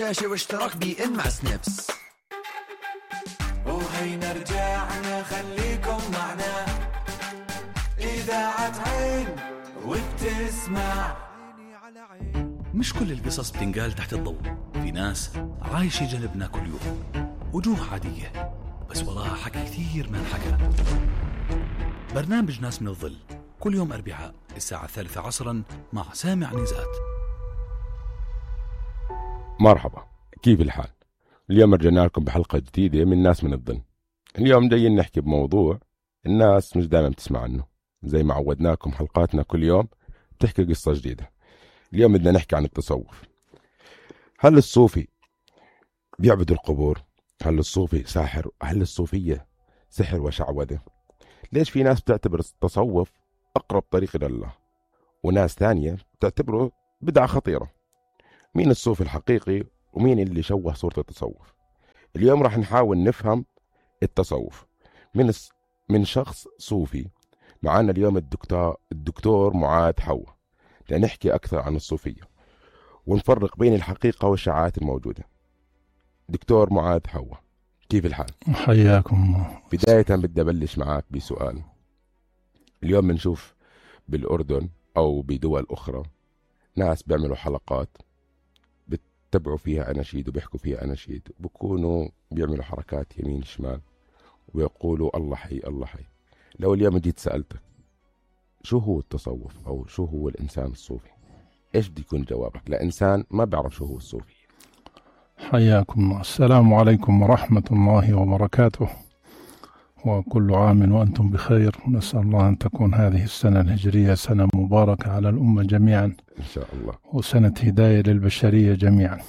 شاشة واشتراك بي إن مع سنابس. وهينا رجعنا خليكم معنا إذاعة عين وبتسمع. مش كل القصص بتنقال تحت الضوء، في ناس عايشة جنبنا كل يوم، وجوه عادية بس وراها حكي كثير ما انحكى. برنامج ناس من الظل كل يوم أربعاء الساعة 3 عصرا مع سامع نزات. مرحبا، كيف الحال؟ اليوم رجعنا لكم بحلقة جديدة من ناس من الظل. اليوم جايين نحكي بموضوع الناس مش دائما بتسمع عنه، زي ما عودناكم حلقاتنا كل يوم بتحكي قصة جديدة. اليوم بدنا نحكي عن التصوف. هل الصوفي بيعبد القبور؟ هل الصوفي ساحر؟ هل الصوفية سحر وشعوذة؟ ليش في ناس بتعتبر التصوف أقرب طريق إلى الله وناس ثانية بتعتبره بدعة خطيرة؟ مين الصوفي الحقيقي ومين اللي شوه صورة التصوف؟ اليوم راح نحاول نفهم التصوف من شخص صوفي. معنا اليوم الدكتور معاذ حوا لنحكي أكثر عن الصوفية ونفرق بين الحقيقة والشعارات الموجودة. دكتور معاذ حوا، كيف الحال؟ حياكم. بداية بدي أبلش معك بسؤال. اليوم بنشوف بالأردن أو بدول أخرى ناس بيعملوا حلقات بتتبعوا فيها أناشيد وبيحكوا فيها أناشيد، بيكونوا بيعملوا حركات يمين شمال ويقولوا الله حي الله حي. لو اليوم جيت سألتك شو هو التصوف أو شو هو الإنسان الصوفي، إيش بدي يكون جوابك لإنسان ما بيعرف شو هو الصوفي؟ حياكم. السلام عليكم ورحمة الله وبركاته، وكل عام وأنتم بخير. ونسأل الله أن تكون هذه السنة الهجرية سنة مباركة على الأمة جميعا إن شاء الله، وسنة هداية للبشرية جميعا.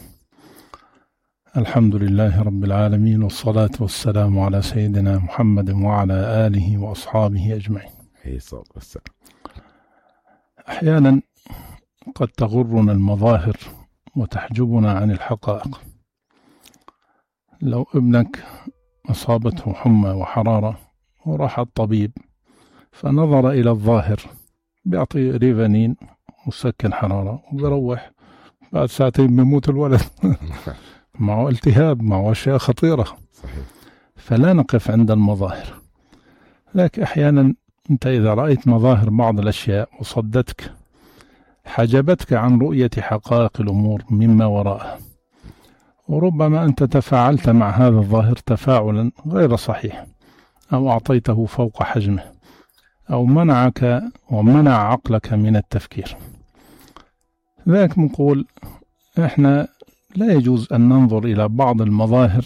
الحمد لله رب العالمين، والصلاة والسلام على سيدنا محمد وعلى آله وأصحابه أجمعين. أحيانا قد تغرنا المظاهر وتحجبنا عن الحقائق. لو ابنك أصابته حمى وحرارة وراح الطبيب فنظر إلى الظاهر، بيعطي ريفانين مسكن حرارة وبيروح بعد ساعتين بيموت الولد معه التهاب، معه أشياء خطيرة. صحيح. فلا نقف عند المظاهر، لكن أحيانا أنت إذا رأيت مظاهر بعض الأشياء وصدتك، حجبتك عن رؤية حقائق الأمور مما وراءها، وربما أنت تفاعلت مع هذا الظاهر تفاعلا غير صحيح، أو أعطيته فوق حجمه، أو منعك ومنع عقلك من التفكير. ذلك نقول إحنا لا يجوز أن ننظر إلى بعض المظاهر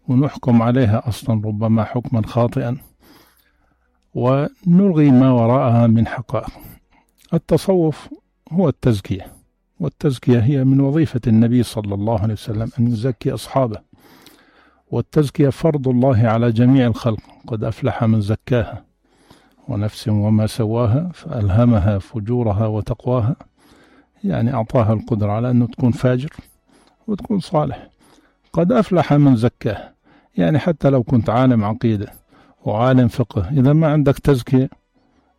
ونحكم عليها أصلا ربما حكما خاطئا ونلغي ما وراءها من حقائق. التصوف هو التزكية، والتزكية هي من وظيفة النبي صلى الله عليه وسلم أن يزكي أصحابه، والتزكية فرض الله على جميع الخلق. قد أفلح من زكاها ونفس وما سواها فألهمها فجورها وتقواها، يعني أعطاها القدرة على أنه تكون فاجر وتكون صالح. قد أفلح من زكاها، يعني حتى لو كنت عالم عقيدة وعالم فقه، إذا ما عندك تزكية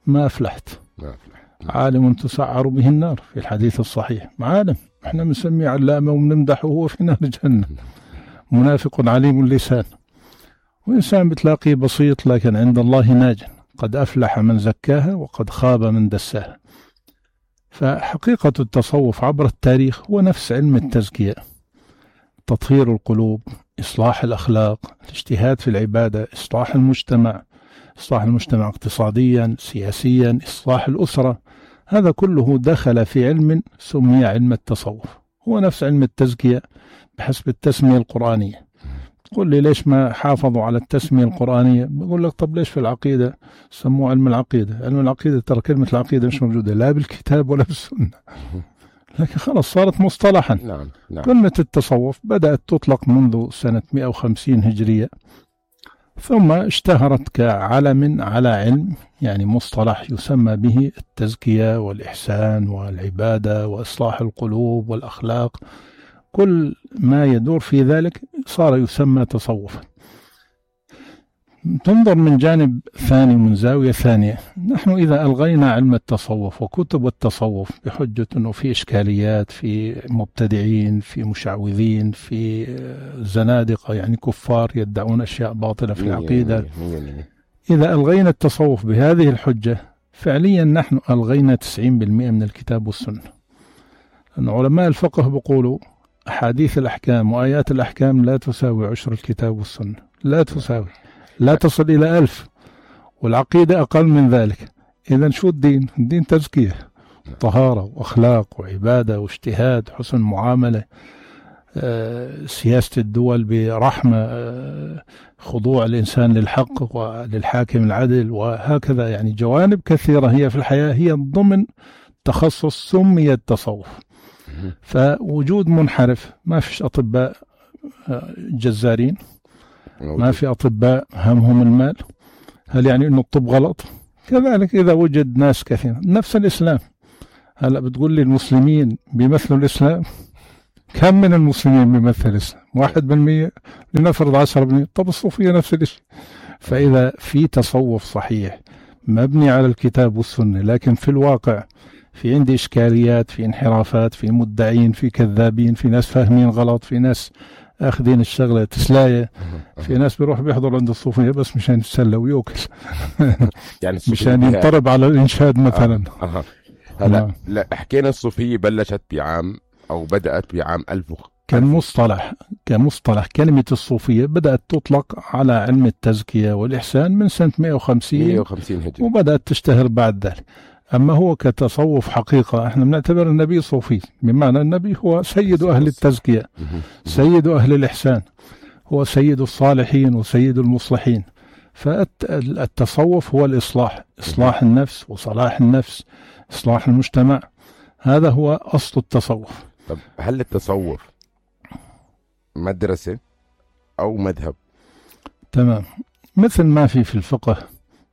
ما أفلحت. عالم تسعر به النار في الحديث الصحيح، عالم احنا بنسميه علامة وبنمدحه وهو في نار جهنم. منافق عليم اللسان، وإنسان بتلاقيه بسيط لكن عند الله ناج. قد أفلح من زكاها وقد خاب من دساها. فحقيقة التصوف عبر التاريخ هو نفس علم التزكية، تطهير القلوب، إصلاح الأخلاق، الاجتهاد في العبادة، إصلاح المجتمع اقتصاديا سياسيا، إصلاح الأسرة. هذا كله دخل في علم سمي علم التصوف. هو نفس علم التزكية بحسب التسمية القرآنية. تقول لي ليش ما حافظوا على التسمية القرآنية؟ بقول لك طب ليش في العقيدة سموه علم العقيدة؟ علم العقيدة ترى كلمة العقيدة مش موجودة لا بالكتاب ولا بالسنة، لكن خلاص صارت مصطلحا. نعم. كلمة التصوف بدأت تطلق منذ سنة 150 هجرية، ثم اشتهرت كعلم على علم، يعني مصطلح يسمى به التزكية والإحسان والعبادة وإصلاح القلوب والأخلاق. كل ما يدور في ذلك صار يسمى تصوفا. تنظر من جانب ثاني ومن زاوية ثانية. نحن إذا ألغينا علم التصوف وكتب التصوف بحجة أنه في إشكاليات، في مبتدعين، في مشعوذين، في زنادقة يعني كفار يدعون أشياء باطلة في العقيدة، إذا ألغينا التصوف بهذه الحجة فعليا نحن ألغينا 90% من الكتاب والسنة. لأن علماء الفقه بيقولوا أحاديث الأحكام وآيات الأحكام لا تساوي عشر الكتاب والسنة، لا تساوي، لا تصل إلى 1000، والعقيدة أقل من ذلك. إذن شو الدين؟ الدين تزكية، طهارة وأخلاق وعبادة واجتهاد، حسن معاملة، سياسة الدول برحمة، خضوع الإنسان للحق وللحاكم العدل، وهكذا. يعني جوانب كثيرة هي في الحياة هي ضمن تخصص سمي التصوف. فوجود منحرف، ما فيش أطباء جزارين، ما في أطباء همهم المال، هل يعني أنه الطب غلط؟ كذلك إذا وجد ناس كثير نفس الإسلام. هلأ بتقول لي المسلمين بيمثلوا الإسلام؟ كم من المسلمين بيمثل الإسلام؟ 1%، لنفرض 10%. طب الصوفية نفس الشيء. فإذا في تصوف صحيح مبني على الكتاب والسنة، لكن في الواقع في عندي إشكاليات، في انحرافات، في مدعين، في كذابين، في ناس فاهمين غلط، في ناس أخذين الشغلة تسلاية، في ناس بيروح بيحضر عند الصوفية بس مشان يتسلى ويوكل يعني مشان ينطرب على الإنشاد مثلا. هلا لا حكينا الصوفية بلشت بعام أو بدأت بعام 1000 كمصطلح كلمة الصوفية بدأت تطلق على علم التزكية والإحسان من سنة 150 هجري، وبدأت تشتهر بعد ذلك. أما هو كتصوف حقيقة احنا بنعتبر النبي صوفي، بمعنى النبي هو سيد أهل التزكية، سيد أهل الإحسان، هو سيد الصالحين وسيد المصلحين. فالتصوف هو الإصلاح، إصلاح النفس وصلاح النفس، إصلاح المجتمع، هذا هو أصل التصوف. طب هل التصوف مدرسة أو مذهب؟ تمام، مثل ما في الفقه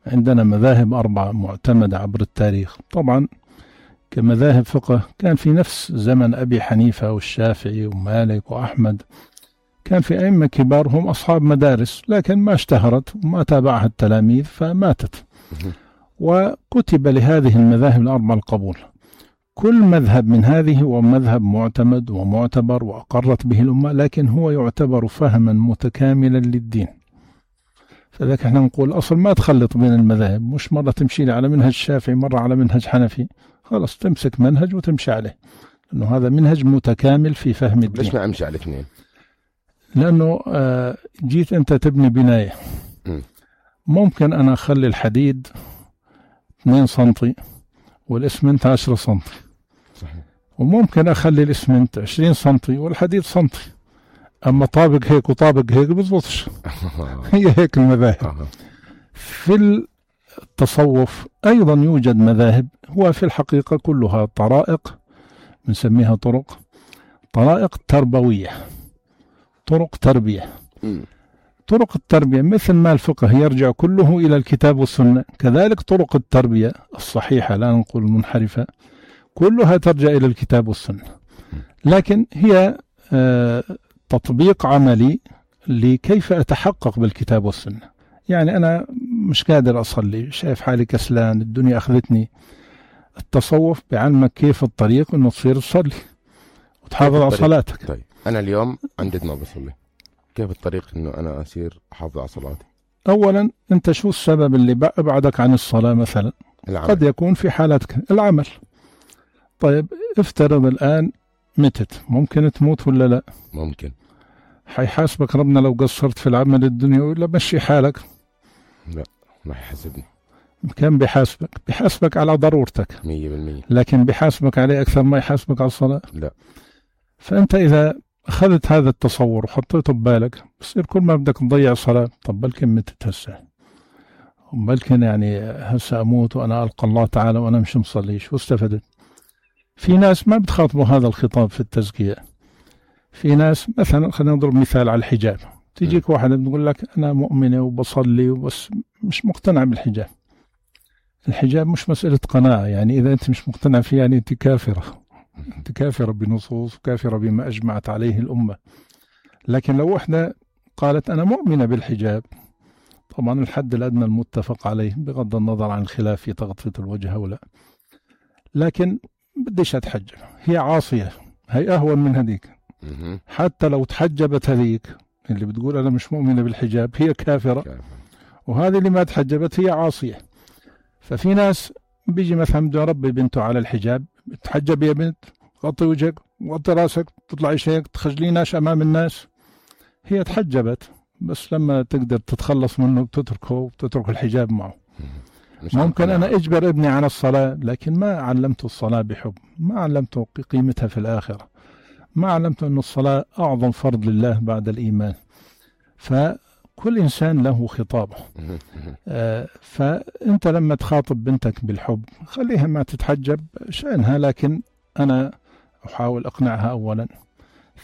عندنا مذاهب 4 معتمدة عبر التاريخ. طبعا كمذاهب فقه كان في نفس زمن أبي حنيفة والشافعي ومالك وأحمد، كان في أئمة كبار هم أصحاب مدارس، لكن ما اشتهرت وما تابعها التلاميذ فماتت، وكتب لهذه المذاهب ال4 القبول. كل مذهب من هذه هو مذهب معتمد ومعتبر وأقرت به الأمة، لكن هو يعتبر فهما متكاملا للدين. فذلك احنا نقول أصل ما تخلط بين المذاهب، مش مرة تمشي على منهج شافعي مرة على منهج حنفي، خلاص تمسك منهج وتمشي عليه، لأنه هذا منهج متكامل في فهم الدين. ليش ما أمشي على الاثنين؟ لأنه جيت أنت تبني بناية، ممكن أنا أخلي الحديد 2 سنتي والإسمنت 10 سنتي، وممكن أخلي الإسمنت 20 سنتي والحديد سنتي، أما طابق هيك وطابق هيك بزبطش. هي هيك المذاهب. في التصوف أيضا يوجد مذاهب، هو في الحقيقة كلها طرائق، بنسميها طرائق تربوية، طرق تربية. طرق التربية مثل ما الفقه يرجع كله إلى الكتاب والسنة، كذلك طرق التربية الصحيحة لا نقول المنحرفة كلها ترجع إلى الكتاب والسنة، لكن هي تطبيق عملي لكيف أتحقق بالكتاب والسنة. يعني أنا مش قادر أصلي، شايف حالي كسلان، الدنيا أخذتني. التصوف بعلمك كيف الطريق إنه تصير تصلي وتحافظ على صلاتك. طيب أنا اليوم عندي ما بصلي، كيف الطريق إنه أنا أصير أحافظ على صلاتي؟ أولا أنت شو السبب اللي أبعدك عن الصلاة مثلا؟ العمل. قد يكون في حالتك العمل. طيب افترض الآن متت، ممكن تموت ولا لا؟ ممكن. حيحاسبك ربنا لو قصرت في العمل الدنيا ولا مشي حالك؟ لا ما يحاسبني. كم بيحاسبك؟ بيحاسبك على ضرورتك 100%، لكن بيحاسبك عليه أكثر ما يحاسبك على الصلاة؟ لا. فأنت إذا أخذت هذا التصور وحطيته ببالك بصير كل ما بدك تضيع الصلاة، طب بلكن متت هسه، وبلكن يعني هسه أموت وأنا ألقى الله تعالى وأنا مش مصليش، واستفدت. في ناس ما بتخاطبوا هذا الخطاب في التزكية. في ناس مثلا خلينا نضرب مثال على الحجاب، تيجيك واحدة بتقول لك أنا مؤمنة وبصلي وبس مش مقتنع بالحجاب. الحجاب مش مسألة قناعة، يعني إذا أنت مش مقتنع فيه يعني أنت كافرة، أنت كافرة بنصوص وكافرة بما أجمعت عليه الأمة. لكن لو واحدة قالت أنا مؤمنة بالحجاب، طبعا الحد الأدنى المتفق عليه بغض النظر عن الخلاف في تغطية الوجه أو لا، لكن بديش أتحجب، هي عاصية، هي أهون من هذيك. حتى لو تحجبت هذيك اللي بتقول أنا مش مؤمنة بالحجاب هي كافرة، وهذه اللي ما تحجبت هي عاصية. ففي ناس بيجي مثلا بده يربي بنته على الحجاب، تحجب يا بنت، غطي وجهك وغطي راسك، تطلعي هيك تخجليناش أمام الناس. هي تحجبت بس لما تقدر تتخلص منه بتتركه وبتترك الحجاب معه. ممكن أنا أجبر ابني على الصلاة لكن ما علمته الصلاة بحب، ما علمته قيمتها في الآخرة، ما علمته أن الصلاة أعظم فرض لله بعد الإيمان. فكل إنسان له خطابه. فأنت لما تخاطب بنتك بالحب خليها ما تتحجب شأنها، لكن أنا أحاول أقنعها أولا،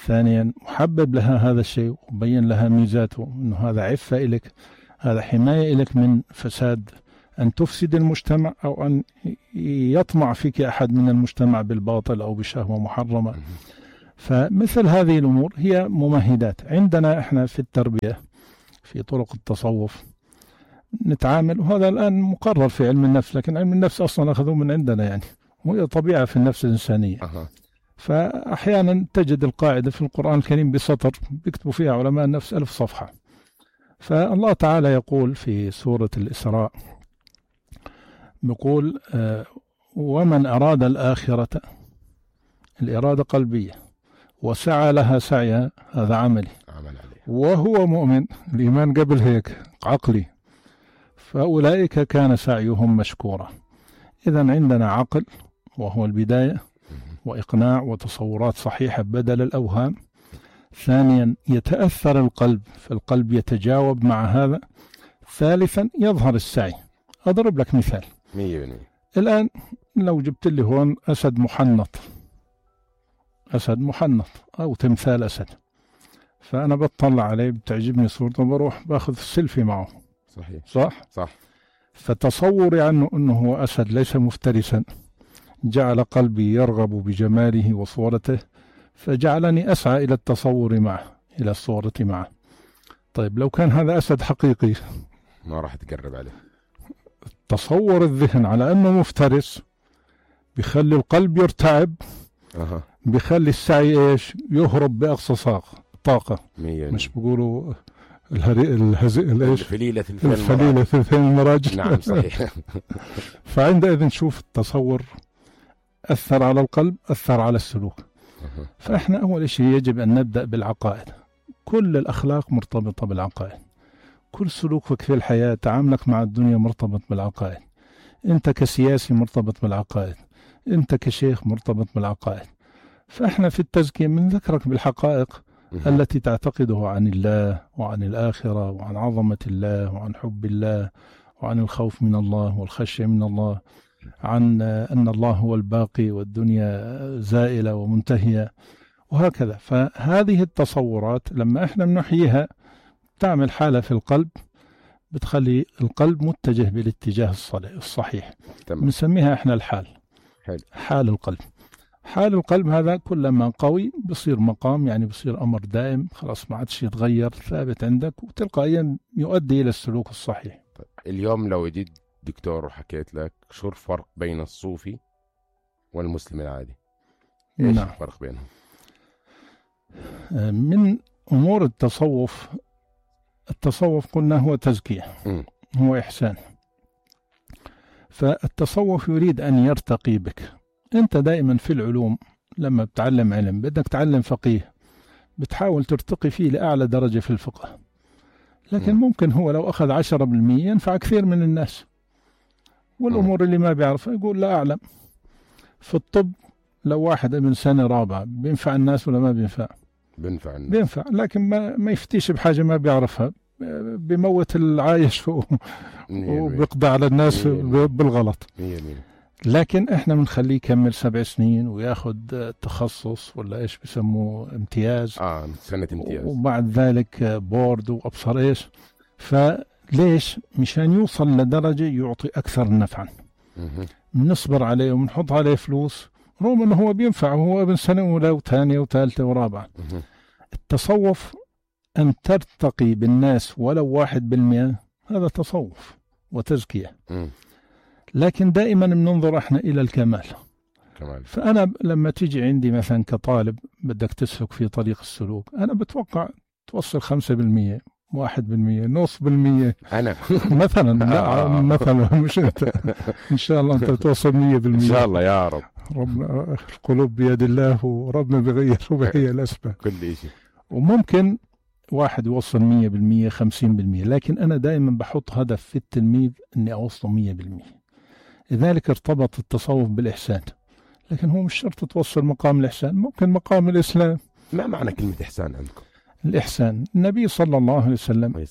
ثانيا أحبب لها هذا الشيء وبين لها ميزاته، أنه هذا عفة إلك، هذا حماية إلك من فساد أن تفسد المجتمع أو أن يطمع فيك أحد من المجتمع بالباطل أو بشهوة محرمة. فمثل هذه الأمور هي ممهدات. عندنا إحنا في التربية في طرق التصوف نتعامل، وهذا الآن مقرر في علم النفس، لكن علم النفس أصلا أخذوه من عندنا يعني، وهي طبيعة في النفس الإنسانية. فأحيانا تجد القاعدة في القرآن الكريم بسطر بيكتبوا فيها علماء النفس 1000 صفحة. فالله تعالى يقول في سورة الإسراء، بيقول ومن أراد الآخرة، الإرادة قلبية، وسعى لها سعيها، هذا عملي، وهو مؤمن، الإيمان قبل هيك عقلي، فأولئك كان سعيهم مشكورا. إذن عندنا عقل وهو البداية، وإقناع وتصورات صحيحة بدل الأوهام. ثانيا يتأثر القلب، فالقلب يتجاوب مع هذا. ثالثا يظهر السعي. أضرب لك مثال. الآن لو جبت لي هون أسد محنط، أسد محنط أو تمثال أسد، فأنا بطلع عليه بتعجبني صورته، بروح باخذ السيلفي معه. صحيح صح. فتصوري عنه أنه هو أسد ليس مفترسا جعل قلبي يرغب بجماله وصورته، فجعلني أسعى إلى التصور معه، إلى الصورة معه. طيب لو كان هذا أسد حقيقي ما راح تقرب عليه. تصور الذهن على أنه مفترس بيخلي القلب يرتعب، بيخلي السعي إيش يهرب بأقصى طاقة. مش بيقولوا الفليلة ثلثين المراجل. نعم صحيح. فعندئذ نشوف التصور أثر على القلب، أثر على السلوك. فإحنا أول شيء يجب أن نبدأ بالعقائد. كل الأخلاق مرتبطة بالعقائد، كل سلوكك في الحياة، تعاملك مع الدنيا مرتبط بالعقائد. أنت كسياسي مرتبط بالعقائد، أنت كشيخ مرتبط بالعقائد. فإحنا في التزكية بنذكرك بالحقائق التي تعتقده عن الله وعن الآخرة وعن عظمة الله وعن حب الله وعن الخوف من الله والخشية من الله، عن أن الله هو الباقي والدنيا زائلة ومنتهية وهكذا. فهذه التصورات لما إحنا بنحييها تعمل حالة في القلب، بتخلي القلب متجه بالاتجاه الصحيح. بنسميها إحنا الحال. حال القلب. حال القلب هذا كلما قوي بصير مقام، يعني بصير أمر دائم، خلاص ما عادش يتغير، ثابت عندك، وتلقائيا يؤدي إلى السلوك الصحيح. اليوم لو جيت دكتور وحكيت لك شو الفرق بين الصوفي والمسلم العادي، ايش الفرق بينهم؟ من أمور التصوف قلنا هو تزكية، هو إحسان. فالتصوف يريد أن يرتقي بك. أنت دائما في العلوم لما بتعلم علم، بدك تعلم فقيه، بتحاول ترتقي فيه لأعلى درجة في الفقه، لكن ممكن هو لو أخذ 10% ينفع كثير من الناس، والأمور اللي ما بيعرفها يقول لا أعلم. في الطب لو واحد من سنة رابعة بينفع الناس ولا ما بينفع؟ بينفع الناس، بينفع، لكن ما يفتيش بحاجة ما بيعرفها، بيموت العايش وبيقضى على الناس بالغلط. لكن احنا بنخليه يكمل 7 سنين وياخد تخصص ولا ايش بسموه امتياز، سنة امتياز، وبعد ذلك بورد وابصر ايش. فليش؟ مشان يوصل لدرجة يعطي اكثر نفعا. بنصبر عليه وبنحط عليه فلوس رغم انه هو بينفع، وهو ابن سنة اولى وثانية وثالثة ورابعة. التصوف ان ترتقي بالناس ولو 1%، هذا تصوف وتزكية. لكن دائما بننظر احنا إلى الكمال. فأنا لما تيجي عندي مثلا كطالب بدك تسلك في طريق السلوك، أنا بتوقع توصل 5%، 1%، نص بالمية أنا مثلا. لا مثلا مش أنت. إن شاء الله أنت توصل 100%. إن شاء الله يا رب. ربنا القلوب بيد الله، وربنا بيغير وبهي الأسباب كل شيء. وممكن واحد يوصل 100%، 50%، لكن أنا دائما بحط هدف في التلميذ أني أوصل 100%. لذلك ارتبط التصوف بالإحسان، لكن هو مش شرط توصل مقام الإحسان، ممكن مقام الإسلام. ما معنى كلمة إحسان عندكم؟ الإحسان النبي صلى الله عليه وسلم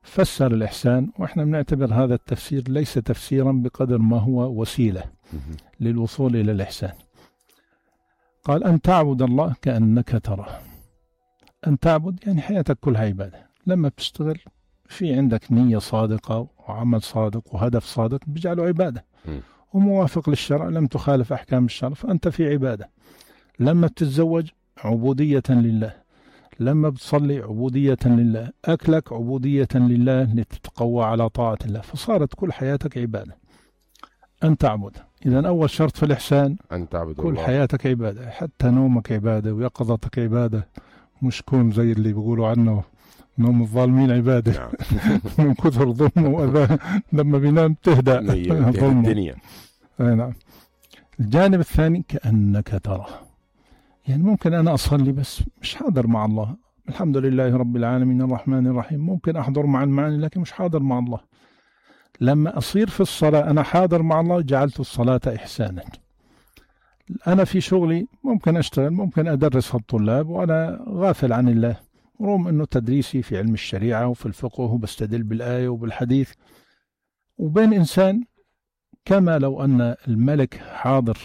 فسر الإحسان، وإحنا بنعتبر هذا التفسير ليس تفسيرا بقدر ما هو وسيلة للوصول إلى الإحسان. قال أن تعبد الله كأنك تراه. أن تعبد يعني حياتك كلها عبادة. لما بتشتغل في عندك نية صادقة وعمل صادق وهدف صادق بيجعله عبادة وموافق للشرع، لم تخالف أحكام الشرع فأنت في عبادة. لما بتتزوج عبودية لله، لما بتصلي عبودية لله، أكلك عبودية لله لتتقوى على طاعة الله، فصارت كل حياتك عبادة. أن تعبد، إذن أول شرط في الإحسان أن تعبد كل الله. حياتك عبادة، حتى نومك عبادة ويقظتك عبادة، مش كون زي اللي بيقولوا عنه نوم الظالمين عبادة. من كثر ظلمه وأذاه لما بينام تهدأ الدنيا. نعم. الجانب الثاني كأنك تراه، يعني ممكن أنا أصلي بس مش حاضر مع الله. الحمد لله رب العالمين الرحمن الرحيم، ممكن أحضر مع المعاني لكن مش حاضر مع الله. لما أصير في الصلاة أنا حاضر مع الله جعلت الصلاة إحسانا. أنا في شغلي ممكن أشتغل، ممكن أدرس الطلاب وأنا غافل عن الله، رغم أنه تدريسي في علم الشريعة وفي الفقه وبستدل بالآية وبالحديث. وبين إنسان كما لو أن الملك حاضر،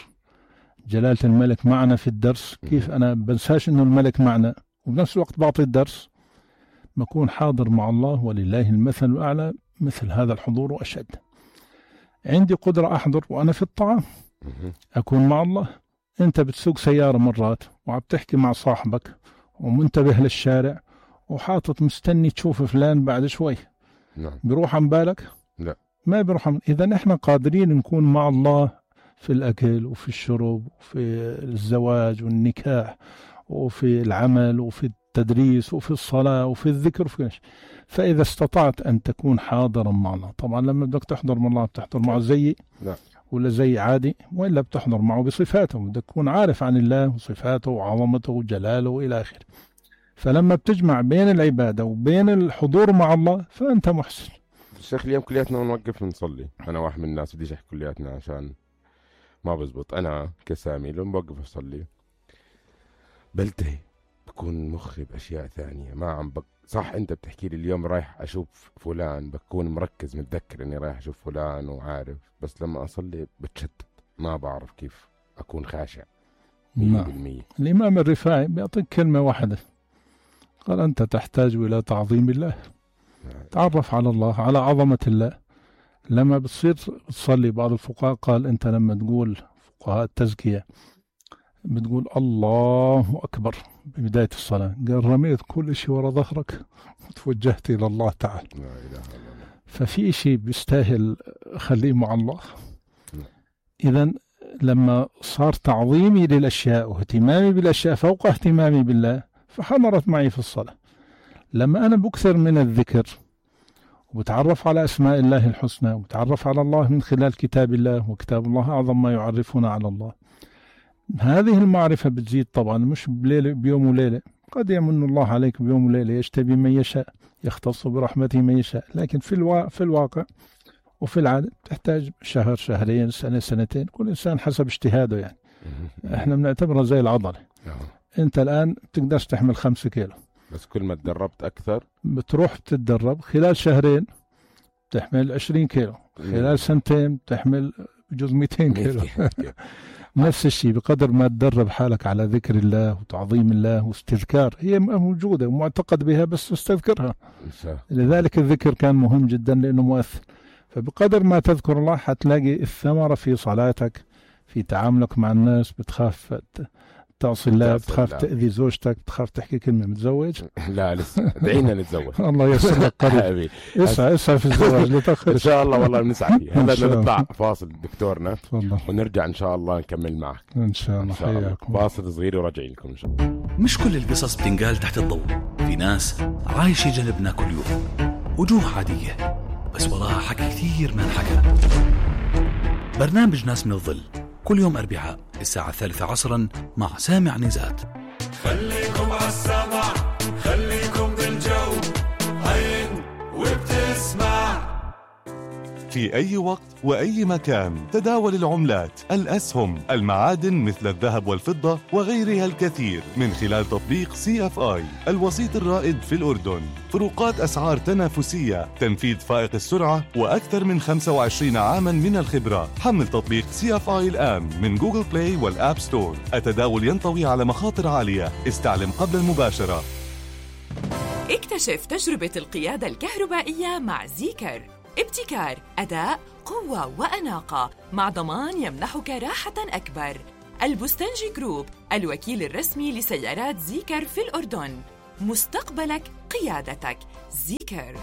جلالة الملك معنا في الدرس، كيف أنا بنساش أنه الملك معنا وبنفس الوقت بعطي الدرس، بكون حاضر مع الله ولله المثل الأعلى. مثل هذا الحضور وأشد. عندي قدرة أحضر وأنا في الطعام أكون مع الله. أنت بتسوق سيارة مرات وعم تحكي مع صاحبك ومنتبه للشارع وحاطط مستني تشوف فلان بعد شوي، بيروح عن بالك؟ لا، ما بيروح إذا نحن قادرين نكون مع الله في الأكل وفي الشرب وفي الزواج والنكاح وفي العمل وفي التدريس وفي الصلاة وفي الذكر وفي فإذا استطعت أن تكون حاضرا مع الله. طبعا لما بدك تحضر مع الله بتحضر معه زي ولا زي عادي، وإلا بتحضر معه بصفاته، بدك تكون عارف عن الله وصفاته وعظمته وجلاله وإلى آخره. فلما بتجمع بين العبادة وبين الحضور مع الله فأنت محسن. الشيخ اليوم كلياتنا نوقف نصلي، أنا واحد من الناس بديش أحكي كلياتنا عشان ما بزبط. أنا كسامي لما بوقف أصلي بلتهي، بكون مخي بأشياء ثانية ما عم صح. أنت بتحكي لي اليوم رايح أشوف فلان، بكون مركز متذكر إني رايح أشوف فلان وعارف، بس لما أصلي بتشتت، ما بعرف كيف أكون خاشع 100%. الإمام الرفاعي بيعطيك كلمة واحدة، قال أنت تحتاج إلى تعظيم الله. تعرف على الله، على عظمة الله. لما بتصير تصلي، بعض الفقهاء قال أنت لما تقول، فقهاء التزكية، بتقول الله أكبر ببداية الصلاة، قال رميت كل شيء وراء ظهرك وتوجهت إلى الله تعالى. لا إله إلا الله. ففي شيء بيستاهل خليه مع الله. إذن لما صار تعظيمي للأشياء واهتمامي بالأشياء فوق اهتمامي بالله فحضرت معي في الصلاة. لما أنا بكثر من الذكر وبتعرف على أسماء الله الحسنى وبتعرف على الله من خلال كتاب الله، وكتاب الله أعظم ما يعرفنا على الله، هذه المعرفة بتزيد طبعا، مش بيوم وليلة. قد يمن الله عليك بيوم وليلة، يجتبي من يشاء، يختص برحمته من يشاء، لكن في الواقع وفي العادة تحتاج شهر، شهرين، سنة، سنتين، كل إنسان حسب اجتهاده. يعني احنا بنعتبرها زي العضلة. انت الآن بتقدرش تحمل 5 كيلو، بس كل ما تدربت أكثر بتروح تتدرب، خلال شهرين تحمل 20 كيلو، خلال سنتين تحمل بجوز 200 كيلو. نفس الشيء، بقدر ما تدرب حالك على ذكر الله وتعظيم الله واستذكار، هي موجودة ومعتقد بها بس استذكرها. لذلك الذكر كان مهم جدا لأنه مؤثر. فبقدر ما تذكر الله حتلاقي الثمرة في صلاتك، في تعاملك مع الناس، بتخاف تعصي الله، تعصي بتخاف الله. تأذي زوجتك، بتخاف تحكي كلمة متزوج. لا لسه دعينا نتزوج. الله يسر لك قريب. حبيبي اسعى في الزواج لتأخر. ان شاء الله والله بنسعى فيه. هلا إن شاء نطلع الله. فاصل دكتورنا تفضل. ونرجع ان شاء الله نكمل معك ان شاء الله. ان شاء الله. حياكم. فاصل صغير وراجعين لكم ان شاء الله. مش كل القصص بتنقال تحت الضوء. في ناس عايشة جنبنا كل يوم، وجوه عادية بس وراها حكي كثير ما انحكى. برنامج ناس من الظل كل يوم أربعاء الساعة 3 عصرا مع سامع نزات. خليكم عالسمع، خليكم بالجو، عين وبتسمع. في أي وقت وأي مكان تداول العملات، الأسهم، المعادن مثل الذهب والفضة وغيرها الكثير من خلال تطبيق CFI الوسيط الرائد في الأردن. فروقات أسعار تنافسية، تنفيذ فائق السرعة، وأكثر من 25 عاما من الخبرة. حمل تطبيق CFI الآن من جوجل بلاي والآب ستور. التداول ينطوي على مخاطر عالية، استعلم قبل المباشرة. اكتشف تجربة القيادة الكهربائية مع زيكر. ابتكار، أداء، قوة وأناقة مع ضمان يمنحك راحة أكبر. البستنجي جروب، الوكيل الرسمي لسيارات زيكر في الأردن. مستقبلك قيادتك. زيكر.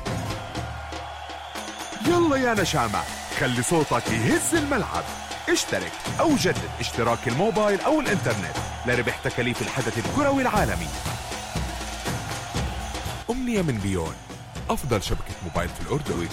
يلا يا نشامة، خلي صوتك يهز الملعب. اشترك أو جدد اشتراك الموبايل أو الإنترنت لربح تكاليف الحدث الكروي العالمي. أمنية من بيون، أفضل شبكة موبايل في الأردن.